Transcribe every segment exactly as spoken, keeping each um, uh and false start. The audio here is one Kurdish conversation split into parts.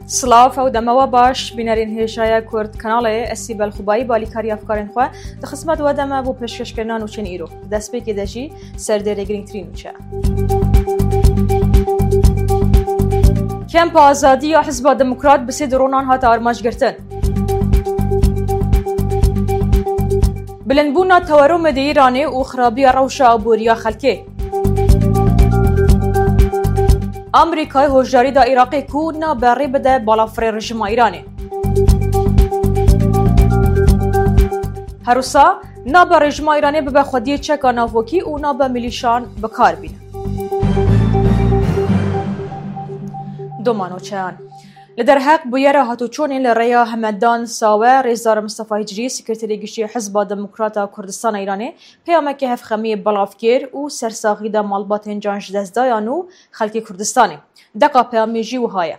Silav, ew dema we baş, bînerên hêjaya Kurd Kanalê, ez Sîbel Xubayî, balîkarî efkarên xwe di xizmet we de me bo pêşkêşkirina nûçeyên îro. Destpêkê de jî serdêrê girîngtirîn nûçe. Kempa Azadî ya Hizba Demokrat bi sê dronan hate armanc girtin. Bilindbûna tewerûmê di Îranê û xirabiya rewşa aboriya xelkê. Amerîkayê hoşdarî da Iraqê ku nabe rê bide balafirê rejîma Îranê. Her wisa nabe rejîma Îranê bibe xwediyê çeka navokî û nabe milîşan bi kar bîne. Domanoçeyan. Li derheq bûyera hatûçûnê li rêya Hemedan Sawe, Rêzdar Mistefa Hicrî, Sekreterê Giştî Hizba Demokrat a Kurdistana Îranê, peyameke hevxemiyê belav kir û sersaxî da malbatên can ji dest dayan û xelkê Kurdistanê. Deqa peyamê jî wiha ye.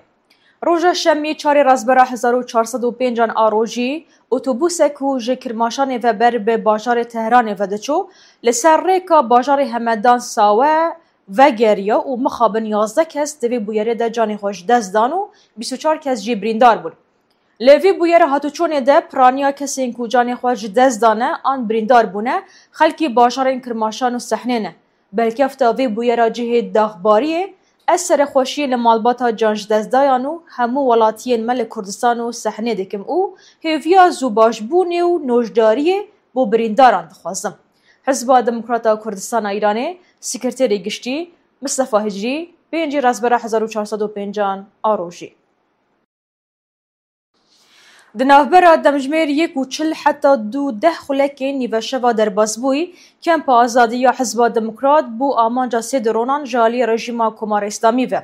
Roja Şemî, çarê Rezbera hezar û çar sed û pêncan a rojî, otobusek ku ji Kirmaşanê ve ber bi bajarê Tehranê ve diçû, li ser rêka bajarê Hemedan Sawe vegeriya û mixabin yazdeh kes di vê bûyerê de canê xwe ji dest dan û bîst û çar kes jî birîndar bûn. Li vî bûyera hatûçûnê de piraniya kesên ku canê xwe ji dest dane an birîndar bûne, xelkî bajarên Kirmaşan û Sehnê ne. Belkefta vê bûyera cihê daxbariyê, ez serexweşiyê li malbata can ji dest dayan û hemû welatiyên me li Kurdistan û Sehnê dikim û hêviya zûbaşbûnê û nojdariyê bo birîndaran dixwazim. Hizba Demokrat a Kurdistana Îranê, Sekreterê Giştî Mistefa Hicrî, pêncî Rezbera hezar û çar sed û pêncan a rojî. Di navbera demjimêr yek û çil heta du deh xulekên nîveşeva derbasbûyî, Kempa Azadî ya Hizba Demokrat bû amanca sê dronan ji alî rejîma Komara Îslamî ve.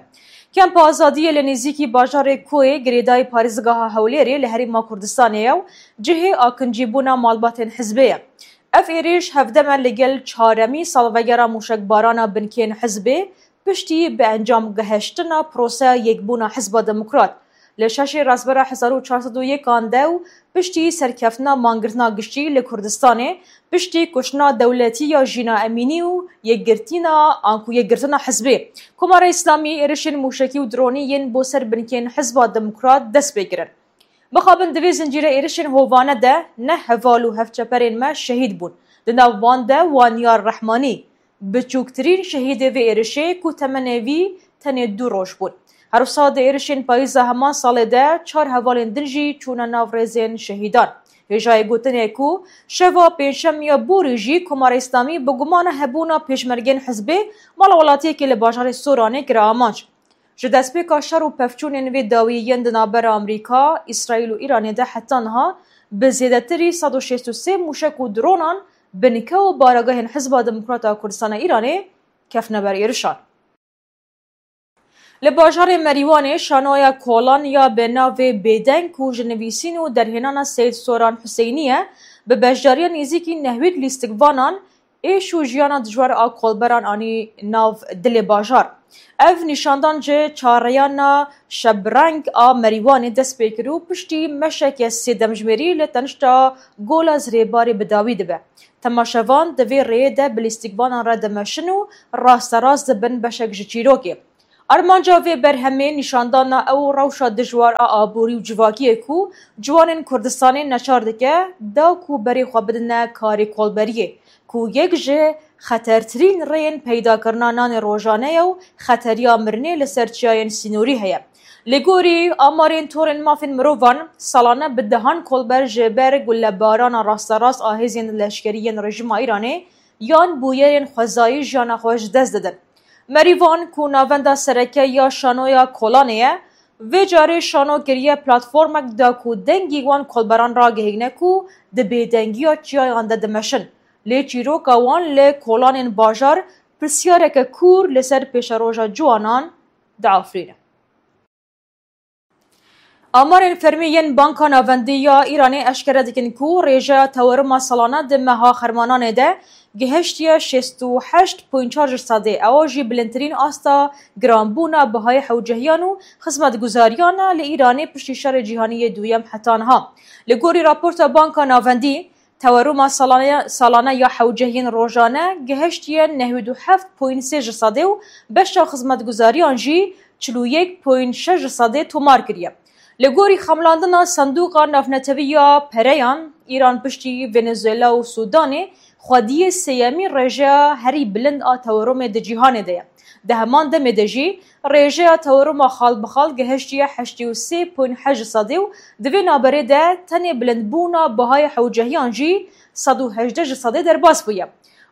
Kempa Azadiyê li nêzîkî bajarê Koyê girêdayî parêzgeha Hewlêrê li Herêma Kurdistanê ye û cihê akincîbûna malbatên hizbê ye. Ev êrîş hevdem e li gel çaremî salvegera mûşekbarana binkên hizbê, piştî bi encam gehiştina proseya yekbûna Hizba Demokrat li şeşê Rezbera hezar û çar sed û yekan de û piştî serkeftina mangirtina giştî li Kurdistanê, piştî kuştina dewletî ya Jîna Emînî û yekgirtina, anku yekgirtina hizbê, Komara Îslamî êrişên mûşekî û dronî yên bo ser binkên Hizba Demokrat dest pê kirin. Mixabin di vê zincîre êrişên hovane de neh heval û hevçeperên me şehîd bûn. Di nav wan de Wanyar Rehmanî, biçûktirîn şehîdê vê êrişê ku temenê vî tenê du roj bûn. Her wisa di êrişên payîza heman salê de çar hevalên din jî çûne nav rêzên şehîdan. Hêjayê gotinê ku şeva pêncşemiya borî jî Komara Îslamî bi gumana hebûna pêşmergên hizbê mala welatiyekê li bajarê Soranê kire amanc. Ji destpêka şer û pevçûnên vê dawî yên di navbera Amerîka, Îsraîl û Îranê de heta niha bi zêdetirî sed û şêst û sê mûşek û dronan binke û baragehên Hizba Demokrat a Kurdistana Îranê ketine ber êrişan. Li bajarê Merîwanê şanoya kolan ya bi navê Bêdeng ku ji nivîsîn û derhênana Seyid Soran Huseyinî ye, bi beşdariya nêzîkî nehwîd lîstikvanan êş û jiyana dijwar a kolberan anî nav dilê bajar. Ev nîşandan ji çareyana şebreng a Merîwanê dest pê kir û piştî meşeke sê demjimêrî li tenişta Gola Zirêbarê bi dawî dibe. Temaşevan di vê rêyê de bi lîstikvanan re dimeşin û rasterast dibin beşek ji çîrokê. Armanca vê berhemê nîşandana ew rewşa dijwar a aborî û civakiyê ku ciwanên Kurdistanê neçar dike, da ku berê xwe bidine karê kolberiyê, ku yek ji xetertirîn rêyên peydakirina nanê rojane ye û xeteriya mirinê li ser çiyayên sînorî heye. Li gorî amarên torên mafên mirovan, salane bi dehan kolber ji ber gulebarana rasterast a hêzên leşkerî yên rejîma Îranê yan bûyerên xwezayî jiyana xwe ji dest didin. Merîvan ku navenda sereke ya şanoya kolanê ye, vê carê şano kiriye platformek da ku dengî wan kolberan ragihîne ku di bêdengiya çiyayan de dimeşin. Lê çîroka wan li kolanên bajar pirsyareke kûr li ser pêşeroja ciwanan diafirîne. Amarên fermî yên Banka Navendî ya Îranê eşkere dikin ku rêjeya teweruma salane di meha Xermananê de gihiştiye şêst û heşt point çar ji sedê, ewa jî bilindtirîn asta giranbûna bihayê hewcehiyan û xizmetguzariyan e li Îranê piştî Şerê Cîhanî yê Duyem heta niha. Li gorî raporta Banka Navendî, teweruma salane, salane ya hewcehiyên rojane gihiştiye nehwîd û heft point sê ji sedê û beşa xizmetguzariyan jî çil û yek point şeş ji sedê tomar kiriye. Li gorî xemlandina Sendûqa Navnetewî ya Pereyan, Îran piştî Venezuela û Sûdanê xwediyê sêyemîn rêjeya herî bilind a tewerumê di cîhanê de ye. Di heman demê de jî rêjeya teweruma xal bi xal gehiştiye heştê û sê point heşt sedî û di vê navberê de tenê bilindbûna bihayê hewcehiyan jî sed û hejdeh ji sedê derbas bûye.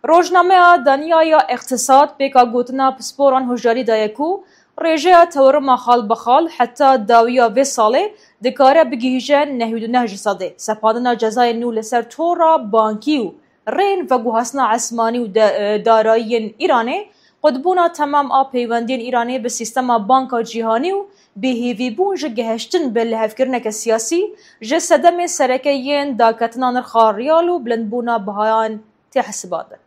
Rojnameya Danya ya Îqtisad pêka gotina pisporan hişdarî daye ku rêjeya teweruma xal bi xal heta dawiya vê salê dikare bigihîje nehî û neh ji sedê. Sepandina cezayên nû li ser tora bankî û rên veguhastina esmanî û de-, e, darayiyên Îranê, qutbûna temam a peywendiyên Îranê bi sîstema banka cîhanî û bêhêvîbûn ji gehiştin bi lihevkirineke siyasî ji sedemê sereke yên daketina nirxa riyal û bilindbûna bihayan tê hesibandin.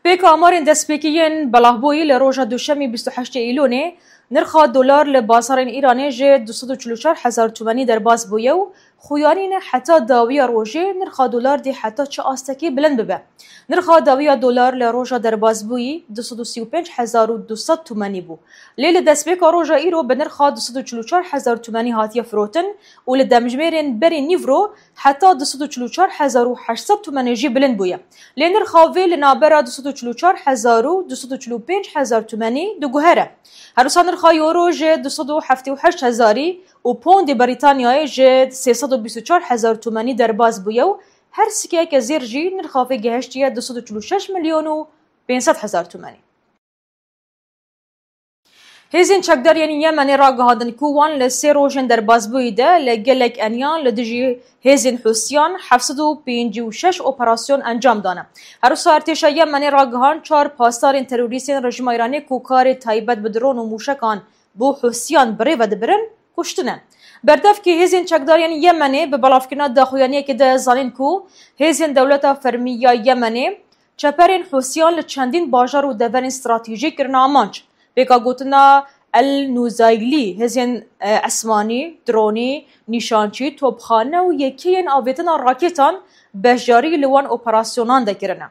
Pêka amarên destpêkî yên belavbûyî li roja Duşemî bîst û heştê Îlonê, nirxa dolar li bazarên Îranê ji du sed û çil û çar hezar tumenî derbas bûye û xuyanîne heta dawiya rojê nirxa dolar dê heta çi astekî bilind bibe. Nirxa dawiya dolar li roja derbasbûyî du sed û sî û pênc hezar û du sed tumenî bû. Lê li destpêka roja îro bi nirxa du sed û çil û çar hezar tumenî hatiye firotin û li demjimêrên berî nîvro heta du sed û çil û çar hezar û heşt sed tumenê jî bilind bûye. Lê nirxa vê li navbera du sed û çil û çar hezar û du sed û çil û pênc hezar tumenî diguhere. Her wisa nirxa euro ji du sed û heftê û heşt hezarî û pondê Brîtanyayê ji sê sed û bîst û çar hezar tumenî derbas bûye û her sikeyeke zêr jî nirxa vê gehiştiye du sed û çil û şeş milyon û pênc sed hezar tumenî. Hêzên çekdar yên Yemenê ragihandin ku wan li sê rojên derbasbûyî de li gelek eniyan li dijî hêzên Hûsiyan heft sed û pêncî û şeş operasyon encam dane. Her wisa artêşa Yemenê ragihand çar pasdarên terorîstên rejîma Îranê ku karê taybet bi dron û mûşekan bo Hûsiyan bi rê ve dibirin, kuştine. Berdevkê hêzên çekdar yên Yemenê bi belavkirina daxuyaniyekê de zanîn ku hêzên dewleta fermî ya Yemenê çeperên Hûsiyan li çendîn bajar û deverên stratejîk kirine amanc. Pêka gotina El Nûzaylî, hêzên, e, esmanî, dronî, nîşançî, topxane û yekeyên avêtina rakêtan beşdarî li wan operasyonan de kirine.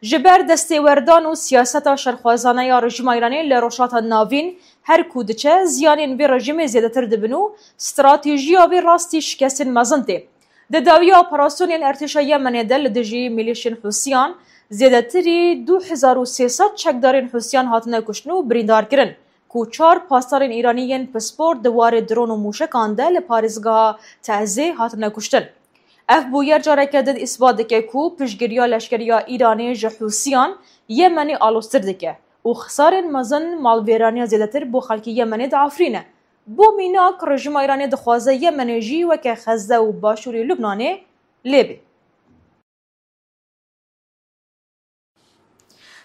Ji ber destêwerdan û siyaseta şerxwazane ya rejîma Îranê li Rojhilata Navîn her ku diçe, ziyanên vê rejîmê zêdetir dibin û stratejiya vê rastî şikestên mezin tê. Di dawiya operasyonên artêşa Yemenê de li dijî milîşên Hûsiyan, zêdetirî du hezar û sê sed çekdarên Hûsiyan hatine kuştin û birîndar kirin, ku çar pasdarên Îranî yên pispor di warê dron û mûşekan de li parêzgeha Teezê hatine kuştin. Ev bûyer careke din îsbat dike ku piştgiriya leşkeriya Îranê ji Hûsiyan Yemenê aloztir dike û xisarên mezin malvêraniya zêdetir bo xelkê Yemenê diafirîne. Bo mînak, rejîma Îranê dixwaze Yemenê jî weke Xezze û başûrê Lubnanê lê bê.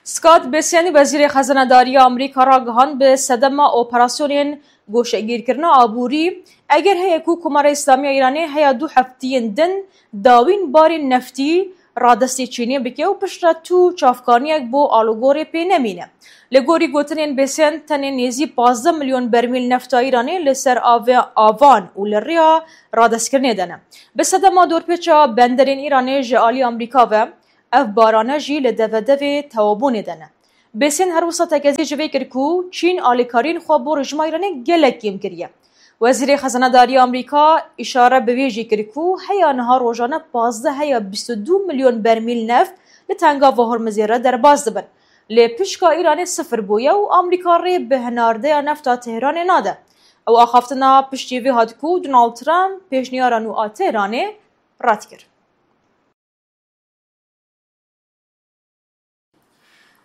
Scott Bessent, Wezîrê Xezenedariya Amerîka ragihand, bi sedema operasyonên goşegîrkirina aborî, eger heye ku Komara Îslamî ya Îranê heya du heftiyên din dawîn barên neftî radestê Çînê bike û piştre tu çavkaniyek bo alûgorê pê nemîne. Li gorî gotinên Bessent, tenê nêzî pazdeh milyon bermîl nefta Îranê li ser avê-, avan û li rêya radestkirinê de ne. Bi sedema dorpêça benderên Îranê ji alî Amerîka ve, ev barane jî li devedevê tewabûnê de ne. Bessent her wisa tekezî ji vê kir ku Çîn alîkariyên xwe bo rejîma Îranê gelek kêm kiriye. Wezîrê Xezenedariya Amerîka îşare bi vê jî kir ku heya niha rojane pazdeh heya bîst û du milyon bermîl neft li Tengava Hormizê re derbas dibin. Lê pişka Îranê sifir bûye û Amerîka rê bi hinardeya nefta Tehranê nade. Ew axaftina piştî vê hat ku Donald Trump pêşniyara nû a Tehranê red kir.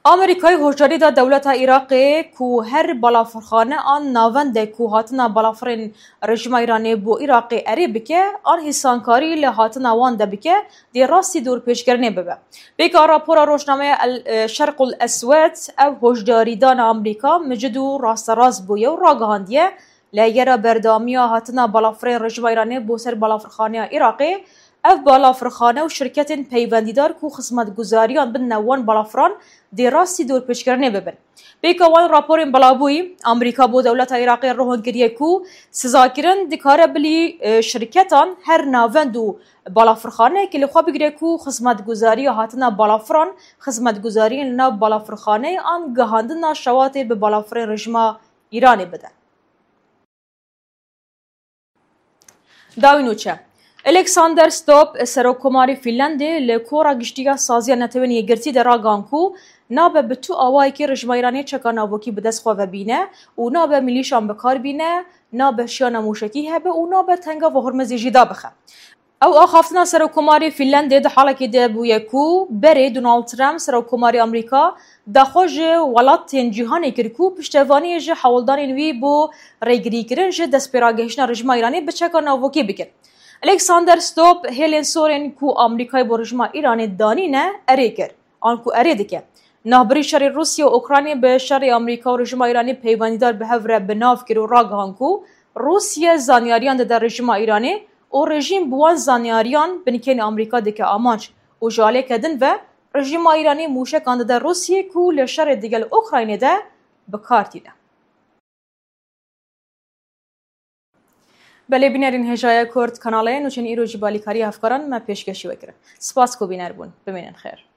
Amerîkayê hoşdarî da dewleta Iraqê ku her balafirxane an navendek ku hatina balafirên rejîma Îranê bo Iraqê erê bike, an hîsankarî li hatina wan de bike, dê rastî dorpêçkirinê bibe. Pêka rapora rojnameya El, e, Şerqul Eswed, ev hoşdarîdana Amerîka micid û rasterast bûye û ragihandiye, Li yera berdewamiya hatina balafirên rejîma Îranê bo ser balafirxaneya Iraqê, ev balafirxane û şirketên peywendîdar ku xizmetguzariyan bidine wan balafiran dê rastî dorpêçkirinê bibin. Pêka wan raporên belavbûyî, Amerîka bo dewleta Iraqê rohon kiriye ku sizakirin dikare bilî, e, şirketan her navend û balafirxaneyekê li xwe bigire ku xizmetguzariya hatina balafiran, xizmetguzariyên li nav balafirxaneyê an gihandina şewatê bi balafirên rejîma Îranê bide. Dawî nûçe. Alexander Stubb, Serokkomarê Fînlandê, li Kora Giştî ya Saziya Netewên Yekgirtî de ragihan ku nabe bi tu awayekî rejîma Îranê çeka navokî bi dest xwe ve bîne û nabe milîşan bi kar bîne, nabe şiyana mûşekî hebe û nabe Tengava Hormizê jî dabixe. Ew axaftina Serokkomarê Fînlandê di halekê de bûye ku berê Donald Trump, Serokkomarê Amerîka, daxwaz ji welatên cîhanê kir ku piştevaniyê ji hewldanên wî bo rêgirîkirin ji destpêragehiştina rejîma Îranê bi çeka navokî bikin. Alexander Stubb hêlên sor ên ku Amerîkayê bo rejîma Îranê danîne erê kir, an ku erê dike. Navbirî şerê Rûsya û Ukraynê bi şerê Amerîka û rejîma Îranê peywendîdar bi hev re bi nav kir û ragihan ku Rûsya zanyariyan dide rejîma Îranê û rejîm bi wan zanyariyan binkeyn Amerîka dike amanc û ji aliyeke din ve rejîma Îranê mûşekan dide Rûsiyê ku li şerê digel Ukraynê de bi kar tîne. Belê bînerên hêjaya Kurd kanalê nûçên îro jî balîkariya hevkaran me pêşkêşî we kirin. Spas ku bîner bûn. Bimînin xêr.